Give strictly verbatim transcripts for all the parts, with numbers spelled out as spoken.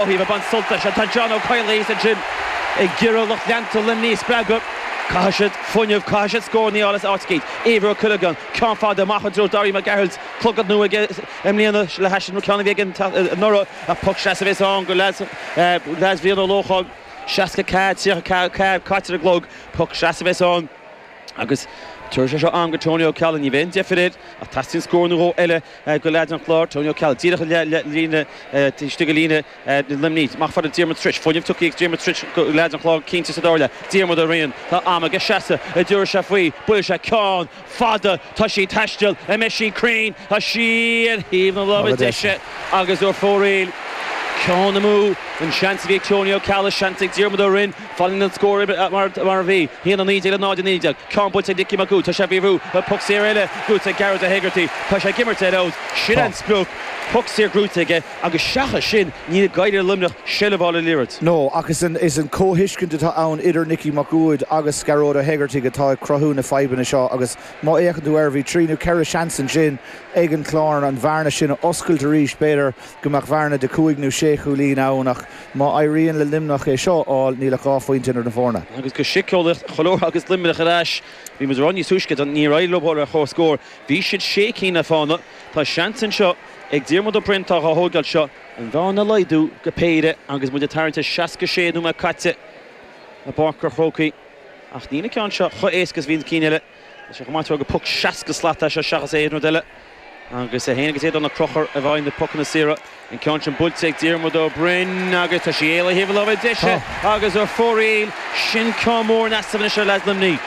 Thaobh ag baint sult as. Tá John Ó Cadhla thíos ansin ag iarraidh lucht leanta Luimnigh a spreagadh. Caithfidh siad fuinneamh, caithfidh siad scóranna a fháil as áit éicint. Éibhear Ó Cuileagáin, ceann fada amach i dtreo Dáithí Mac Gearailt, clogad nua aige i mbliana le hais an ceann a bhí aige anuraidh. Ach poc seasamh a bheas ann go leaids Bhrian Ó Lócháin. seasca ceathair, tríocha ceathair caite ar an gclog, poc seasamh a bheas ann. Agus tabharfaidh sé seo am go Tony Ó Ceallaigh. Ní bheidh aon deifir air ach teastaíonn scór nó dhó eile go leaids an Chláir. Tony Ó Ceallaigh díreach i líne, istigh i líne Luimnigh. Amach fada Diarmuid Trish. Fuinneamh tugtha ag Diarmuid Trish go leaids an Chláir cinnte sa dara leath. Diarmuid Ó Riain. Tá am aige seasamh. An dtabharfaidh sé faoi. Buailfidh sé ceann fada. Tá sí ag taisteal. An mbeidh sí cruinn? Tá sí ar thaobh na láimhe deise agus ar fóraoil. Ceann amú, an seans a bhí ag Tony Ó Ceallaigh, seans ag Diarmuid Ó Rinn, fanann an scór mar a bhí, a haon a naoi déag le náid a naoi déag. Ceann buailte ag Nicky Mac Uaid, tá sé faoi bhrú, poc saor eile gnóite ag Gearóid Ó hÉigeartaigh, tá sé ag imirt ar fheabhas, sin an sprioc, poc saor gnóite aige agus seachas sin níl ag éirí le Luimneach seilbh a fháil ar an liathróid. No, ach is an is an comhthuiscint atá ann idir Nicky Mac Uaid agus Gearóid Ó hÉigeartaigh atá ag cruthú na fadhbanna seo agus má fhéachann tú air bhí trí nó ceithre seans ansin ag an Chlár an bhearna sin a oscailt arís, b'fhéidir go mbeadh bearna de cúig nó sé chúilín ann ach má éiríonn le Luimneach é seo a fháil, níl ach dhá phointe idir na foirne. Agus go síceolaíoch, chuile uair agus Luimneach ar ais, bhí muid ag rá níos túisce, níor éirigh leo ar chomhscór. Bhí siad sé cinn le fána. Tá seans anseo ag Diarmuid Ó Broin atá á thógáil seo, an bhearna a laghdú go péire agus muid ag tarraingt ar seasca sé nóiméad caite i bPáirc an Chrócaigh. Ach níl an ceann seo chomh héasca is a bhí na cinn eile. Tá sé chomh maith gur poc seasca slat é seo seachas aon rud eile. Agus é féin agus Aodán Ó Conchúir a bhfaigheann na pocanna saora. An ceann sin buailte ag Diarmuid Ó Broin agus tá sí éalaithe thaobh na láimhe deise agus ar fóraoil. Sin ceann mór in easnamh anois ar leaids Luimnigh.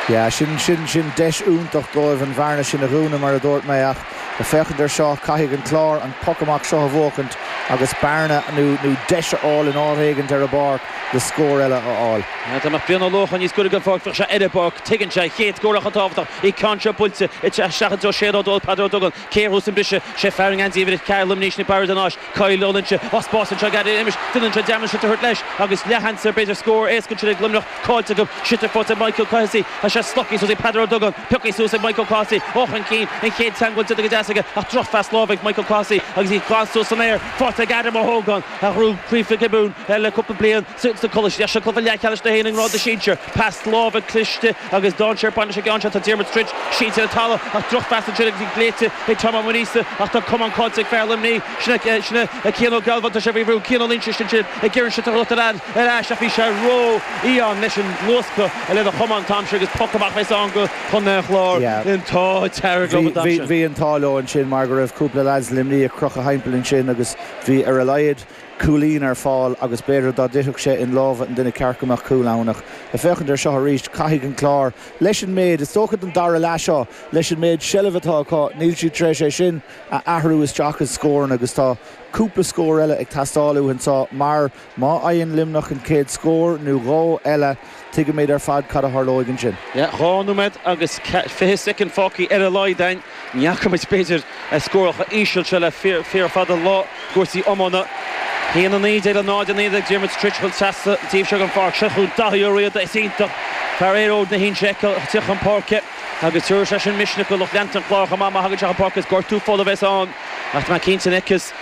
Yeah, sin, sin, sin deis iontach dóibh an bhearna sin a dhúnadh mar a dúirt mé ach le féachaint ar seo caithfidh an Clár an poc amach seo a bhuachaint agus bearna nó, nó deis a fháil in áit éigint ar an bpáirc le scór eile a fháil. Dá mbeadh Brian Ó Lócháin níos gaire don pháirc bheadh sé ar an bpáirc. Tuigeann sé an chéad scór chomh tábhachtach. An ceann seo buailte isteach i dtreo Shane Ó Dónaill, Peadar Ó Dubhghaill, cé a thabharfas an briseadh? Sé fear an gheansaí uimhir a ceathair Luimnigh sin Barry de Náis, Kyle Ó Loinsigh. Tá spás anseo ag Adam English, duine anseo Diarmuid Sliotar a thabhairt leis agus leathsheans ar b'fhéidir scór éasca ansin ag Luimneach caillte acu. Sliotar faighte ag Michael Clohessy. Tá sé slogtha suas ag Peadar Ó Dubhghaill. Pioctha suas ag Michael Clohessy. Ó chun cinn, an chéad teagmháil déanta go deas aige ach drochphas láimhe ag Michael Clohessy agus í glan suas san aer. Faighte ag Adam Ó hÓgáin a ghnóthaigh Craobh Mhic Giobúin le cúpla bliain sa Coláiste. Seo cluiche leathcheannais na hÉireann i ngrád na sinsear. Pas láimhe cliste agus dainséar ag baint leis an gceann seo. Tá Diarmuid Stritch sínte ar an talamh ach drochphas ansin agus í glaoite ag Tom Ó Maonaosa ach tá camán caillte ag fear Luimnigh. Sin é Cian Ó Gealbháin. Tá sé faoi bhrú. Cian Ó Loinsigh ansin ag iarraidh an sliotar a thabhairt ar ais ach bhí sé ró-fhiáin leis an luascadh lena chamán an t-am sin agus poc amach a bheas ann go Chontae an Chláir. An t-ádh dearg leo an t-am sin. Bhí an t-ádh leo ansin mar go raibh cúpla leaids Luimnigh ag crochadh thimpeall ansin agus bhí ar a laghad cúilín ar fáil agus b'fhéidir dá dtitfeadh sé in lámha an duine ceart go mbeadh cúl ann ach le féachaint ar seo arís caithfidh an Clár leis an méid, is dócha don dara leath seo, leis an méid seilbh atá acu níl siad tar éis é sin a athrú isteach i scóranna agus tá cúpla scór eile ag teastáil uathu anseo mar má fhaigheann Luimneach an chéad scór nó dhó eile tuigimid ar fad cad a tharlóidh ansin. Dhá nóiméad agus fiche soicind fágtha ar a laghad againn. Ní fhaca muid, b'fhéidir, scórálacha íseal seo le fíor fada an lá i gcúrsaí iomána. a haon a naoi déag le náid a naoi déag Diarmuid Stritch ag dul trasna an taobh seo den pháirc. Seo chugainn Daithí Ó Riada. Is iontach fear Éireod na hInse a fheiceáil ag teacht chun páirce agus tabharfaidh sé sin misneach do lucht leanta an Chláir chomh maith má thagann sé chun páirce. Is gortú folamh a bheas ann ach tá mé cinnte an fheiceas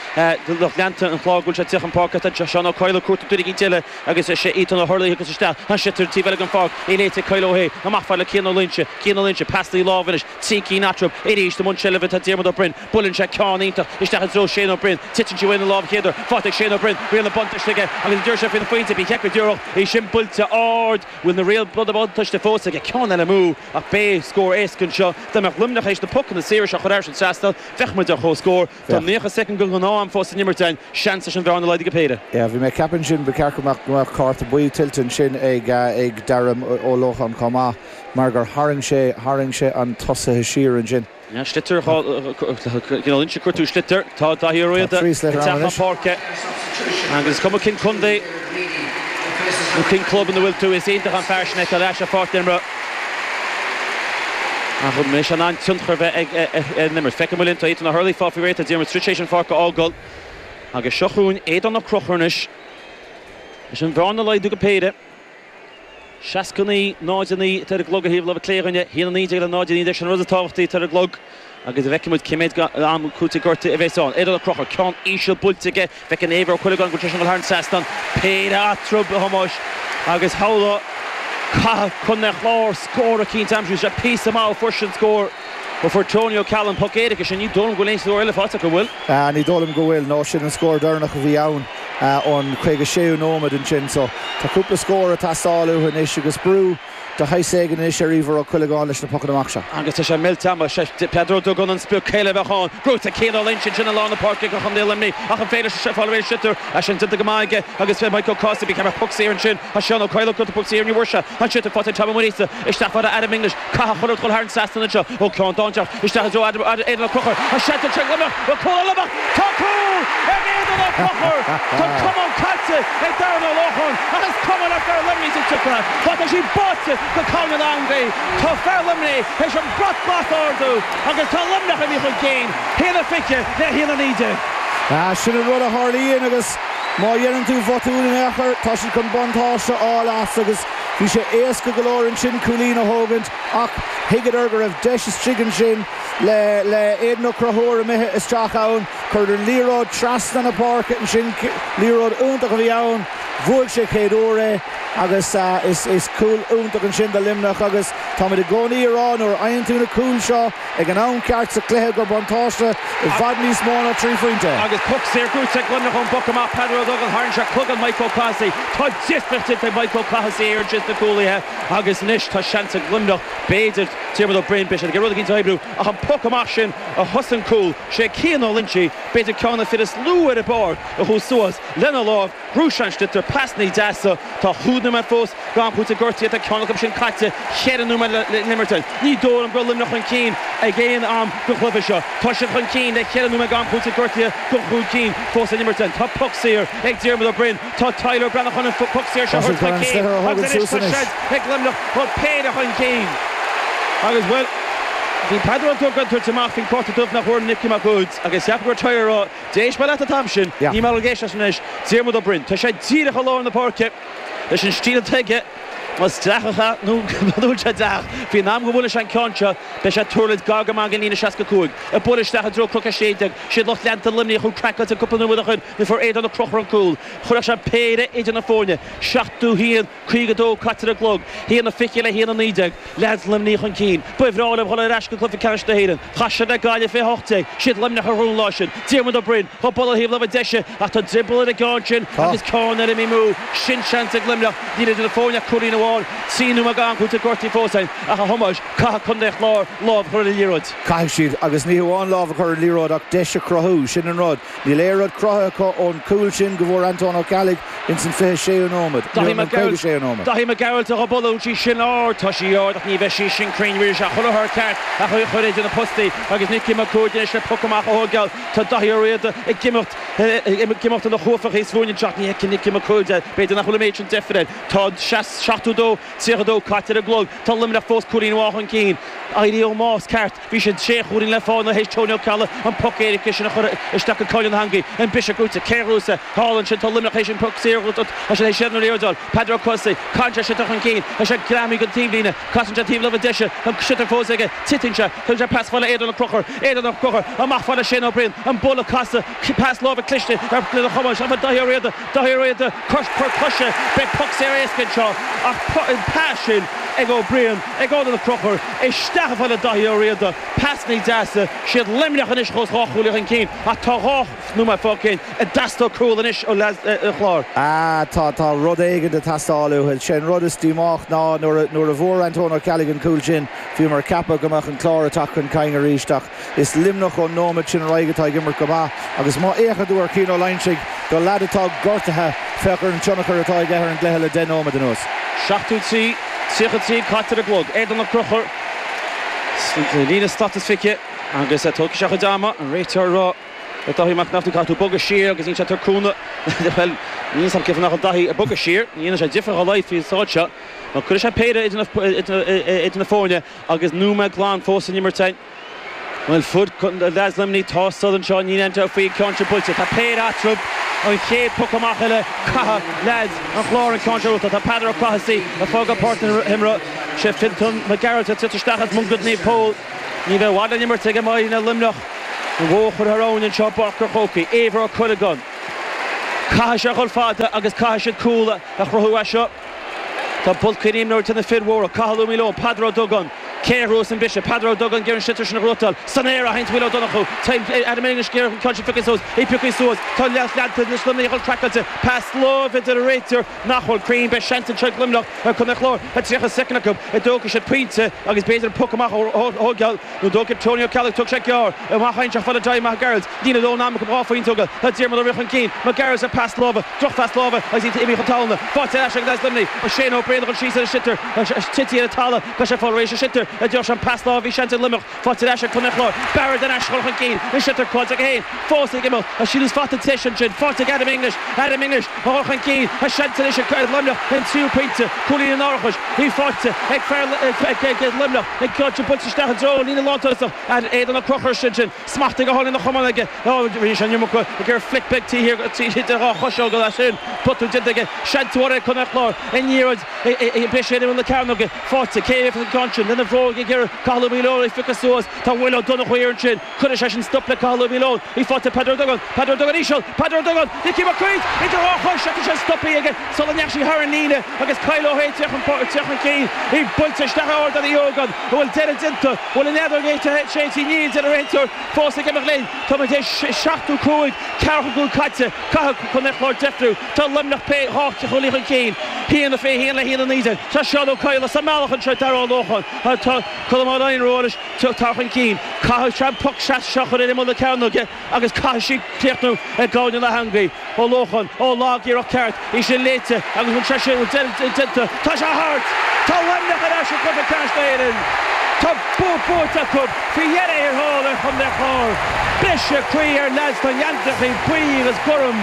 lucht leanta an Chláir go bhfuil sé ag teacht chun páirce. Tá Seán Ó Coileáin ag cuartú duine eicínt eile agus is é Ethan Ó hUrlaigh a thiocfas isteach. Tá an sliotar an taobh eile den pháirc. É léite ag Kyle Ó hAodha. Amach fad le Cian Ó Loinsigh. Cian Ó Loinsigh, pas láimhe anois. Trí cinn eatarthu. Arís i mbun seilbhe tá Diarmuid Ó Broin. Buaileann sé ceann iontach isteach i dtreo Shane Ó Broin. Titeann sí uaidh ina lámh chéad uair. Faighte ag Shane Ó Broin. Riail na buntáiste aige agus an dtabharfaidh sé faoin phointe. Bí cheap go díreach í sin buailte ard. Bhfuil na riail buntáiste fós aige? Ceann eile amú ach beidh scór éasca anseo. Dá mbeadh Luimneach théis na pocanna saora seo a chur thar an trasnán, bheadh muid ar comhscór. Tá naocha soicind den ghnáth-am fós san imirt againn. Seans leis an bhearna a laghdú go péire. Yeah, bhí mé ag ceapadh ansin ba cheart go mbeadh go mbeadh cárta buí tuillte ansin ag ag Darragh Ó Lócháin chomh maith mar gur tharraing sé tharraing sé an tosaithe siar ansin. Yeah, sliotar Cian Ó Loinsigh ag cuartú sliotar. Tá Daithí Ó Tá Riada trí ag sliotar teacht ann chun anois. páirce agus is cuma cén contae nó cén club ina bhfuil tú, is iontach an fear sin a fheiceáil ar ais ar pháirc na himeartha. Ach an mbeidh sé in ann tionchar a bheith ag ar an imirt? Feicfidh muid linn. Tá Ethan Ó hUrlaigh fágtha faoi réir, tá Diarmuid Stritch théis an pháirc a fhágáil agus seo chugainn Aodán Ó Conchúir anois leis an bhearna a laghdú go péire. seasca naoi, náid a naoi atá ar an gclog ar thaobh láimhe clé againne, a haon a naoi déag le náid a naoi déag, sin an rud is tábhachtaí atá ar an gclog Agus a bhfeicfidh muid cé mhéad am cúiteamh gortaithe a bheas ann. Aodán Ó Conchúir, ceann íseal buailte aige, feiceann Éibhear Ó Cuileagáin go bhfuil sé sin ag dul thar an trasnán. Péire eatarthu, a Thomáis, agus shamhlófá caithfidh Contae an Chláir scór eicínt a aimsiú. Sé píosa maith a fuair sin scór ó fuair Tony O'Callaghan poc éirice sin. Ní dóigh liom go bhfuil aon scór eile faighte acu, an bhfuil? Ní dóigh liom go bhfuil, nó sin an scór deireanach a bhí ann ón caoga séú nóiméad ansin. So tá cúpla scór ag teastáil uathu anois agus brú de shaghas éigin anois ar Íomhar Ó Cuileagáin leis na pocanna amach seo. Agus tá sé millte ama. Sé Peadar Ó Dubhgáin an sprioc, cé eile a bheadh ann? Gnóite Cian Ó Loingsigh ansin i lár na páirce do Chontae Luimnigh ach an féidir leis fáil réidh sliotar? É sin déanta go maith aige agus fé Mike Ó Cathasaigh bhí ceapadh poc saor ansin. Tá Seán Ó Coileáin ag cuartú poc saor ní bhfuair sé an sliotar faighte ag Tom Ó Muiríosa isteach fada Adam English. Caithfidh chuile rud dhul thar an trasnán anseo ó ceann dainséarach isteach i dtreo Adam Aodán Ó Conchúir. Tá seans anseo ag Luimneach. Bhfuil cúl ag Luimneach? Tá cúl ag Aodán Ó Conchúir! Tá an camán caite ag Darren Ó Lorcáin ach is cuma le fear Luimnigh sa tsiopa má tá sí báite go cúinne na heangaí. Tá fear Luimnigh théis an brat glas a ardú agus tá Luimneach imithe chun cinn, haon a fiche le haon a naoi déag. Sin an rud a tharlaíonn agus má dhéanann tú botún in aon chor, tá siad chun buntáiste a fháil as agus bhí sé éasca go leor ansin cúilín a thógaint ach thuigeadar go raibh deis istigh ansin le le Aidan Ó Conchúir imithe isteach ann. Chuireadar an liathróid trasna na páirce ansin, liathróid iontach a bhí ann, bhuaigh sé chéad uair é agus is is cúl iontach ansin do Luimneach agus táimid i gcónaí ag rá nuair a fhaigheann tú na cúil seo ag an am ceart sa chluiche gur buntáiste i bhfad níos mó ná trí phointe. Agus poc saor gnóite ag Luimneach ón bpoc amach, Peadar Ó Dubhgáin, tharraing sé cloigeann Mike Ó Cathasaigh. Tá difríocht déanta ag Mike Ó Cathasaigh ar ansin sna cúlaithe agus anois tá seans ag Luimneach, b'fhéidir, Diarmuid Ó Broin, beidh siad ag iarraidh rud eicínt a oibriú ach an poc amach sin a thosaigh an cúl, sé Cian Ó Loingsigh, b'fhéidir ceann de na fir is lú ar an bpáirc a chuaigh suas lena lámh, ghnóthaigh sé an sliotar, pasannaí deasa, tá chúig nóiméad fós d'am cúitimh gortaithe, tá ceann acu sin caite, cheithre nóiméad le n-imirt. Ní dóigh liom go raibh Luimneach chun cinn ag aon am den chluiche seo. Tá siad chun cinn le ceithre nóiméad d'am cúitimh gortaithe go chúig cinn fós le n-imirt. Tá poc saor ag Diarmuid Ó Broin, tá Tyler Breathnach chun an poc saor seo a Tá siad thabhairt chun chun an cinn sliotar a agus thógaint anois suas tá anois. seans ag Luimneach dul péire chun cinn. Agus, bhuel, bhí Peadar Ó Dubhgáin ag tabhairt amach faoin cárta dubh nach bhfuair Nicky Mac Uaid agus cheap go raibh Tyler ag rá, D'éist mé leat an t-am sin, Yeah. ní maith liom éisteacht anois. Diarmuid Ó Broin, tá sé díreach i lár na páirce leis an stíl atá aige, más dleathach é nó mura bhfuil sé dleathach, faoin am go mbuailfidh sé an ceann seo, beidh sé ag tuirlingt gar go maith den líne seasca cúig. Ag bualadh isteach i dtreo Cnoc a sé déag, siad lucht leanta Luimnigh chomh craiceáilte cúpla nóiméad ó shin nuair a fuair Aodán Ó Conchúir an cúl. Chuirfeadh sé péire idir na foirne, seachtó haon, caoga dó caite ar an gclog, haon a fiche le haon a naoi déag, leaids Luimnigh chun cinn. Ba bhreá leo dhul ar ais go cluiche ceannais na hÉireann. Chas siad le Gaillimh fiche hocht déag, siad Luimneach a ghnóthaigh an lá sin. Diarmuid Ó Broin chomh bualadh thaobh láimhe deise ach tá drioball ar an gceann sin agus ceann eile imithe amú. Sin seans ag Luimneach. Níl idir na foirne ach cúilín amháin. Trí nóiméad d'am cúitimh gortaithe fós againn ach a Thomáis, caithfidh Contae an Chláir lámh a chur ar an liathróid. Caithfidh siad, agus ní hamháin lámh a chur ar an liathróid ach deis a chruthú, sin an rud. Níl aon rud cruthaithe acu ón gcúl sin go bhfuair Antóin Ó Ceallaigh ins an fiche séú nóiméad, nó an caoga séú nóiméad. Daithí Mac Gearailt a bualadh sí sin ard, tá sí ard ach ní bheidh sí sin cruinn, bhí sé chuile shórt ceart ach í a chur idir na postaí agus Nicky Mac Cumhaigh anois le poc amach a thógáil. Tá Daithí Ó Riada ag imeacht ag imeacht ina chuaifeach thíos fúinn anseo ach ní fheiceann Nicky Mac Cumhaigh é, b'fhéidir nach bhfuil an méid sin deifir air. Tá seachtó dó, tríocha dó caite ar an gclog, tá Luimneach fós cúilín amháin chun cinn. Éirí ón mbás ceart, bhí siad sé chúilín le fáil théis Tony Ó Ceallaigh an poc éirice sin a chur isteach go cúinne na heangaí. An biseach gnóite, cé a ghnóthós é? Thall ansin tá Luimneach théis an poc saor a ghnóthú, tá sé théis seilbh na liathróide a fháil. Peadar Ó Cathasaigh, caitheann sé sliotar chun cinn, tá sé greamaithe den taobhlíne, casann sé taobh láimhe deise, tá an sliotar fós aige, titeann sé, tugann sé pas fada Aodán Ó Conchúir, Aodán Ó Conchúir, amach fada Shane Ó Briain, an buille casadh, pas láimhe cliste ar lena Thomáis, an Daithí Ó Riada, Daithí Ó Riada, cor cor coise, beidh poc saor éasca anseo ach an pas sin ag Ó Briain, ag Aodán Ó Conchúir, isteach fada Daithí Ó Riada, pasannaí deasa, siad Luimneach anois fós dhá chúilín chun cinn ach tá dhá nóiméad fágtha ag teastáil cúl anois ó leaids an Chláir. Ah, tá tá rud éigin ag teastáil uathu. Sé an rud is díomách ná nuair a nuair a bhfuair Antóin Ó Ceallaigh an cúl sin, bhíomar ag ceapadh go mbeadh an Clár ag teacht chun cinn arís ach is Luimneach ón nóiméad sin ar aghaidh atá ag imirt go maith agus má fhéachann tú ar Cian Ó Loingsigh do leaid atá gortaithe féach ar an tionchar atá aige ar an gcluiche le deich nóiméad anuas. Seachtó trí, tríocha trí caite ar an gclog. Aodán Ó Conchúir líne slat is fiche agus tógfaidh sé a chuid ama an réiteoir ag rá le Daithí Mac Neachtain caithfidh tú bogadh siar agus níl sé tar cúnamh bhuel níl a fhios agam cén fáth nach bhfuil Daithí ag bogadh siar ní dhéanann sé difear dá laghad faoin staid seo nó cuirfidh sé péire idir na foirne agus nóiméad glan fós san imirt againn. Bhuel fud leaids Luimnigh tá siad anseo níl aon dabht faoi ceann seo buailte. Tá péire eatarthu an chéad poc amach eile caithfidh leaids an Chláir an ceann seo a Tá Peadar Ó Cathasaigh ag fágáil páirc na himeartha sé Fintan Mac Gearailt ag titim isteach as Mungailt Naomh Pól. Ní bheidh i bhfad le n-imirt ag iománaithe Luimneach. An bhóthar thar abhainn anseo i bPáirc an Chrócaigh. Éibhear Ó Cuileagáin. Caithfidh sé a dhul fada agus caithfidh siad cúl a chruthú as seo. Tá bulcaí imreoirí tá na fir mhóra, Cathal Ó Maoileoin, Peadar Ó Dubhgáin, cé a thabharfas an briseadh? Peadar Ó Dubhgáin ag iarraidh an sliotar sin a ghnóthachtáil san aer a sheinnt Will Ó Donnchú. Adam English ag iarraidh an ceann sin a phiocadh suas, é pioctha suas. Tá leath leanta anois Luimnigh a dhul craiceáilte. Pas láimhe a deir an réiteoir nach bhfuil cruinn. Beidh seans anseo ag Luimneach ar Chontae an Chláir. Tá tríocha soicind acu. An dtógfaidh siad pointe agus b'fhéidir an poc amach a thógáil. Nó an dtógfaidh Tony Ó Ceallaigh, tógfaidh sé gearr amach anseo fad le Daithí Mac Gearailt. Níl a dhóthain ama acu dhá phointe a thógáil. Tá Diarmuid Ó Riain chun cinn. Mac Gearailt ar pas láimhe, drochphas láimhe agus iad imithe chun talún. Faighte ar ais ag leaids Luimnigh. Ó Shane Ó Braonáin dhul síos ar an sliotar. Tite ar an talamh. Tá sé fáil réidh sa sliotar. A deir sé an pas láimhe bhí seans ag Luimneach. Faighte ar ais ag Contae an Chláir. Barrett ar ais dhul chun cinn. An sliotar caillte aige féin. Fós ag imeacht. Tá síos fata teis ansin. Faighte ag Adam English. Adam English a dhul chun cinn. Tá seans anois ag Luimneach an tríú pointe. Cúilín an árachais. Í faighte ag fear ag Luimneach. Ag ceann buailte isteach i dtreo líne lántosach. Aidan Ó Conchúir sin sin. Smachtaithe go hálainn ina chamán aige. Rinne sé an iomarca ag iarraidh flic beag taobh thiar de dhá choiseog as sin. Botún déanta aige. Seans mhór ag Contae an Chláir. An liathróid beidh sé in imeall na cearnóige. Faighte. Cé a bheidh an ceann sin? Lena bhróg ag iarraidh Cathal Ó Maoileoin é phiocadh suas. Tá Will Ó Donnchú thiar ansin. Cuirfidh sé sin stop le Cathal Ó Maoileoin. Í faighte ag Peadar Ó Dubhgáin. Peadar Ó Dubhgáin íseal. Peadar Ó Dubhgáin. Nicky Mac Uid idir dhá chois ach tá sé stoptha aige sula ndeachaigh sí thar an líne agus Kyle Ó hÉith teacht chun cinn. Í buailte isteach ard ar Eoghan. An bhfuil deireadh déanta? An bhfuil an fheadóg séidte? Níl, deir an réiteoir. Fós ag imeacht linn. Tá muid théis seachtó cúig, ceathracha cúig caite. Caithfidh Contae an Chláir deifriú. Tá Luimneach pé dhá chúilín chun cinn. Haon a fiche haon le haon a naoi déag. Tá Seán Ó Cadhla sa mbealach anseo ag Darragh Ó Lócháin. Tá Colm Ó Laighin romhais tar chun cinn. Caithfidh sé an poc seo a chur ar imeall na cearnóige agus caithfidh sí críochnú ag gaibhne na heangaí. Ó Lócháin, ó lag-iarracht ceart, í sin léite agus bhfuil sé sin déanta. Tá sé thart! Tá Luimneach ar ais i gCluiche Ceannais na hÉireann! Tá bua buaite acu faoi dheireadh thiar thall ar Chontae an Chláir. Briseadh croí ar leaids na ngeansaithe buí agus gorm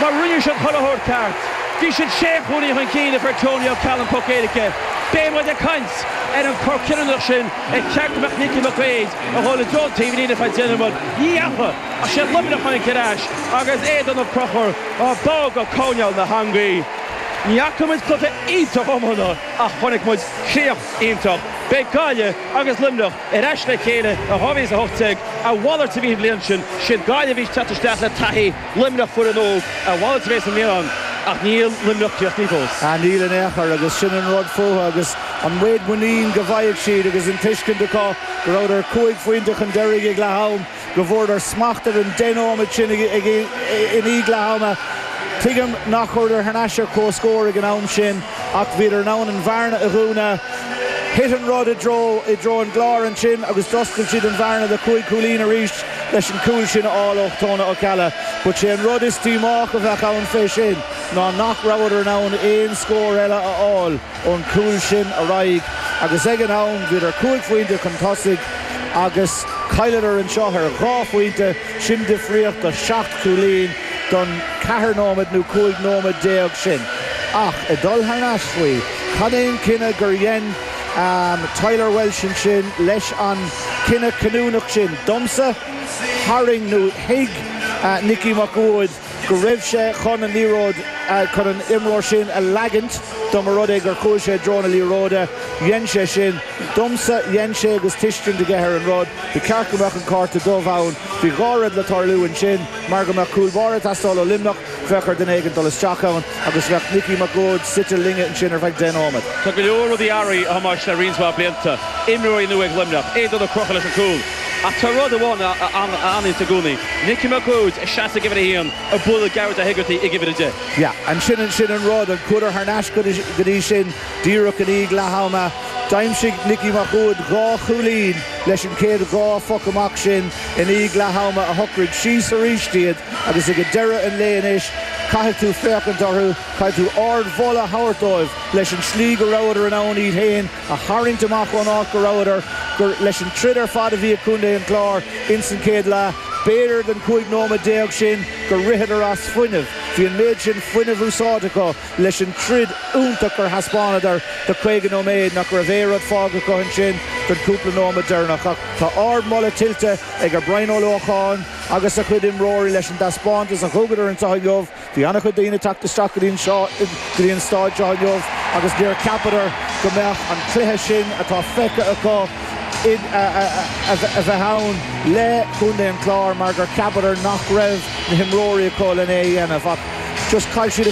mar rinne siad chuile shórt ceart. Bhí siad sé chúilín chun cinn a fuair Tony Ó Ceallaigh an poc éirice. Beidh muid ag caint ar an cor cinniúnach sin ar cheart go mbeadh Nicky McQuaid a dhul i dtreo an taobh líne feadh deich nóiméad. Ní dheachaigh ach sé Luimneach a tháinig ar ais agus Aodán Ó Conchúir á bá go coirnéal na heangaí. Ní fhaca muid cluiche iontach iomána ach chonaic muid críoch iontach. Beidh Gaillimh agus Luimneach ar ais le chéile i dhá mhíle is a hocht déag. A mhalairt a bhí an bhliain sin. Siad Gaillimh a bhí ag teacht isteach le taithí, Luimneach foireann óg. A mhalairt a bheas i mbliana ach níl Luimneach críochnaithe fós. Níl in aon chor agus sin an rud fúthu agus an méid muinín go bhfaigheadh siad agus an tuiscint acu go rabhadar cúig phointe chun deiridh ag leath am, go bhfuaireadar smacht ar an deich nóiméad sin i ndiaidh leath ama. Tuigim nach rabhadar thar n-ais ar comhscór ag an am sin ach bhíodar in ann an bhearna a dhúnadh. Thit an rud i dtreo i dtreo an gCláir ansin agus d'oscail siad an bhearna de chúig chúilín arís leis an cúl sin a fháil ó Tony Ó Ceallaigh. But sé an rud is díomách a bheadh ann fé sin ná nach rabhadar in ann aon scór eile a fháil ón cúl sin ar aghaidh agus ag an am bhíodar cúig phointe chun tosaigh agus chailleadar anseo ar dhá phointe, sin difríocht de sheacht chúilín don ceathair nóiméad nó cúig nóiméad déag sin. Ach ag dul thar n-ais faoi, cad é an cinneadh gur dhein Tyler Walsh ansin leis an cinneadh cinniúnach sin? Domsa, tharraing nó thuig Nicky Mac Uaid go raibh sé chun an liathróid, chun an imreoir sin a leagaint dá mba rud é gur chuaigh sé i dtreo na liathróide. Dhein sé sin. Domsa, dhein sé agus tuiscint aige ar an rud. Ba cheart go mbeadh an cárta dubh ann. Bhí dhá rud le tarlú ansin, mar go mbeadh cúl báire ag teastáil ó Luimneach, bheadh ar duine éigin dul isteach ann agus bheadh Nicky Mac Uaid suite linge ansin ar feadh deich nóiméad. Tá go leor rudaí athraithe, a Thomáis, le roinnt mhaith blianta. Imreoirí nua ag Luimneach, Aodán Ó Conchúir leis an gcúl. Ach tá rud amháin a fhanann i gcónaí, Nicky Mac Uaid ag seasamh ag uimhir a haon, ag bualadh Gearóid Ó hÉigeartaigh ag uimhir a deich. Yeah, ansin sin an rud, an chuadar thar n-ais go dtí sin díreach i ndiaidh leath ama. D'aimsigh Nicky Mac Uaid dhá chúilín leis an chéad dhá phoc amach sin i ndiaidh leath ama a shocraigh síos arís iad agus ag deireadh an lae anois caithfidh tú féachaint orthu, caithfidh tú ardmholadh a thabhairt dóibh leis an slí go rabhadar in ann iad féin a tharraingt amach ón áit go rabhadar, gur leis an troid ar fad a bhí ag Contae an Chláir ins an chéad leath, b'fhéidir don cúig nóiméad déag sin gur ritheadar as fuinneamh. Bhí an méid sin fuinnimh úsáidte acu leis an troid iontach gur thaispeánadar do caoga nóiméad nach raibh aon rud fágtha acu ansin don chúpla nóiméad deireanach. Ach tá ardmholadh tuillte ag Brian Ó Lócháin agus a chuid imreoirí leis an dtaispeántas a thugadar anseo inniu. Bhí an-chuid daoine ag teacht isteach go dtí an seo, go dtí an staid seo inniu agus níor cheapadar go mbeadh an cluiche sin atá feicthe acu a bheith ann le Contae an Chláir mar gur cheapadar nach raibh na himreoirí acu lena dhéanamh ach just chaill siad